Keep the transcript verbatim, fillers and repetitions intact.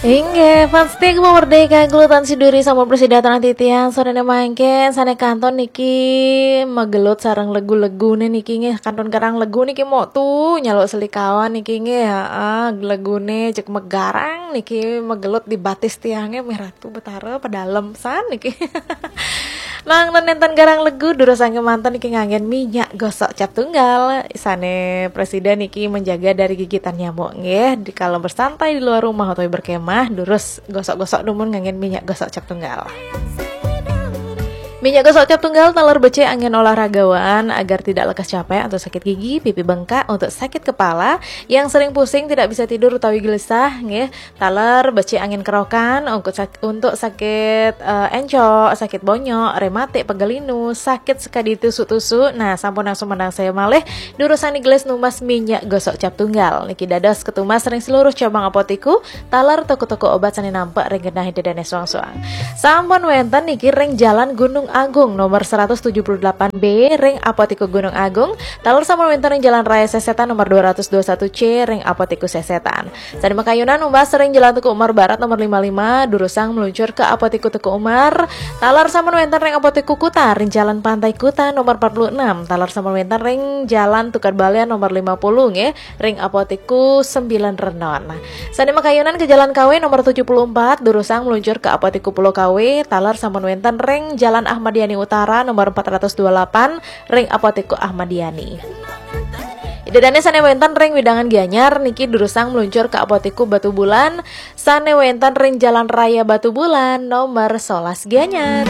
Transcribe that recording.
Inggih, fans setia Gema Merdeka, gelutan siduri sampun prasida titiang. Sorene mangke sane kantun niki magelut sareng legu-legune niki nggih, kantun garang legu niki mok tu nyaluk selikawan niki nggih, heeh, legune cek megarang niki magelut di batis tiange, mih Ratu Betara pedalem san niki. Nang nenten garang legu durusang kemanten niki nganggen minyak gosok cap tunggal. Sane prasida niki menjaga dari gigitan nyamuk nggih, di kalau bersantai di luar rumah atau berkemah, durus gosok-gosok dumun nganggen minyak gosok cap tunggal. Minyak gosok cap tunggal taler becik anggen olahragawan agar tidak lekas capek atau sakit gigi, pipi bengkak, untuk sakit kepala, yang sering pusing, tidak bisa tidur utawi gelisah nggih. Taler becik anggen kerokan untuk sak-, untuk sakit, eh, encok, sakit bonyok, rematik, pegal linu, sakit sekadi tusuk-tusuk. Nah, sampun langsung menang saya malih durusang gelis numbas minyak gosok cap tunggal. Niki dados ketumbas ring seluruh cabang apotiku, taler toko-toko obat sane nampek ring genah Ida Dane suang-suang. Sampun wenten niki ring Jalan Gunung Agung nomor seratus tujuh puluh delapan B ring Apotiku Gunung Agung, taler sampun wenten ring Jalan Raya Sesetan nomor dua ratus dua satu C ring Apotiku Sesetan. Sane makayunan numbas ring Jalan Teuku Umar Barat nomor lima lima, durusang meluncur ke Apotiku Teuku Umar, taler sampun wenten ring Apotiku Kuta ring Jalan Pantai Kuta nomor empat puluh enam, taler sampun wenten ring Jalan Tukad Balian nomor lima puluh nggih, ring Apotiku Sembilan Renon. Sane makayunan ke Jalan Kawe nomor tujuh puluh empat, durusang meluncur ke Apotiku Pulau Kawe, taler sampun wenten ring Jalan Ahmad Yani Utara nomor empat ratus dua puluh delapan, ring Apotiku Ahmad Yani. Ida Dane sane wenten ring wewidangan Gianyar niki durusang meluncur ke Apotiku Batubulan, sane wenten ring Jalan Raya Batubulan nomor sebelas Gianyar.